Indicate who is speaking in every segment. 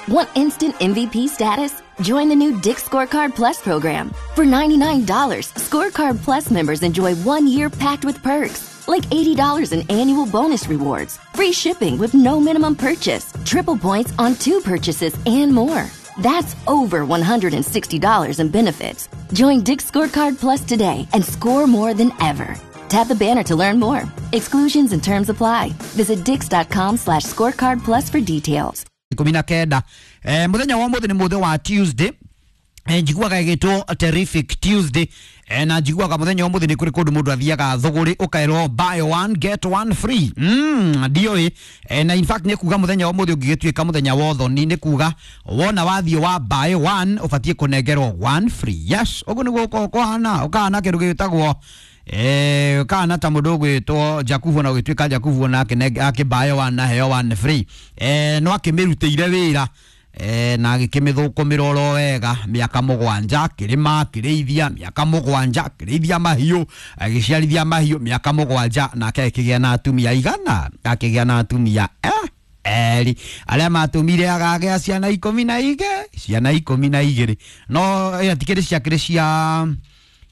Speaker 1: Want instant MVP status? Join the new Dick's Scorecard Plus program. For $99, Scorecard Plus members enjoy 1 year packed with perks, like $80 in annual bonus rewards, free shipping with no minimum purchase, triple points on two purchases, and more. That's over $160 in benefits. Join Dick's Scorecard Plus today and score more than ever. Tap the banner to learn more. Exclusions and terms apply. Visit dicks.com/scorecard plus for details.
Speaker 2: 19. Muthenya wa muthi ni muthi wa Tuesday. Njiguaga ĩgĩtwo Terrific Tuesday. Na njiguaga muthenya wa muthi nĩ kũrĩ kũndũ mũndũ athiaga thũgũrĩ ũkaerwo buy one get one free. Ndiũĩ. Na in fact nĩ kuga muthenya wa muthi ũngĩgĩtuĩka muthenya wa ũthoni, nĩ kuga wona wathiĩ wa buy one ũbatiĩ kũnengerwo one free. Yes, ũguo nĩguo ũkoragwo kũhana, ũkahana kĩndũ gĩtagwo kana ta mũndũ ũgwĩtwo Jakubu, na ũgĩtuĩka Jakubu na akĩbuy one na heo one free. No akĩmĩrutĩire wĩra na agĩkĩmĩthũkũmĩra oro wega mĩaka 7, akĩrĩma, akĩrĩithia mĩaka 7, akĩrĩithia mahiũ, agĩciarithia mahiũ mĩaka 7, nake akĩgĩa na atumia igana, akĩgĩa na atumia erĩ arĩa matũmire agagĩa ciana 12, ciana 12. No tikĩrĩ ciakĩrĩ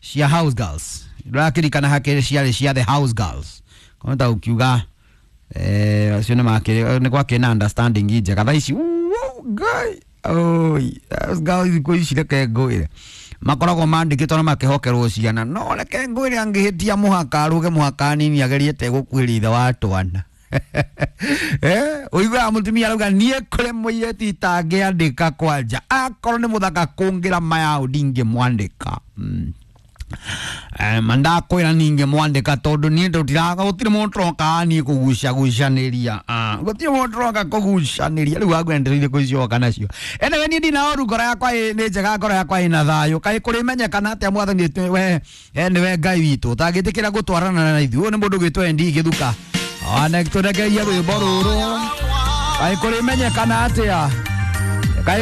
Speaker 2: cia house girls, ndũrakĩrikana hakĩrĩ ciarĩ cia the house girls kona ũkiuga acio nĩ makĩrĩ nĩ gwakĩrĩ na understanding njega. Thaa ici, Ngai oi, house girls thikũ ici, reke ngwĩre, makoragwo mandĩkĩtwo na makehokerwo ciana, no reke ngwĩre, angĩhĩtia mũhaka, arũge mũhaka nini, ageriete gũkuhĩrĩria ithe wa twana. Ũiguaga mũtumia arauga, niĩ kũrĩ mũirĩtu itangĩandĩka kwanja, akorwo nĩ mũthaka kũngĩra mayaũ, ndingĩmwandĩka. Mandakwĩra ningĩmwandĩka tondũ niĩ ndũtiraga, gũtirĩ mũndũ tũroka niĩ kũgucagucanĩria. Ah, gũtirĩ mũndũ tũroka kũgucanĩria. Rĩu wangwendereire kũicoka nacio. Anyway, niĩ ndina ũru, ngoro yakwa nĩ njega, ngoro yakwa ĩna thayũ. Kaĩ kũrĩmenyekana atĩa mwathani we nĩwe Ngai witũ ũtangĩtĩkĩra gũtwarana na ithuĩ? Ũyũ nĩ mũndũ gwĩtwo Endi Gĩthuka, tũrekererie rwĩmbo rũrũ, kaĩ kũrĩmenyekana atĩa?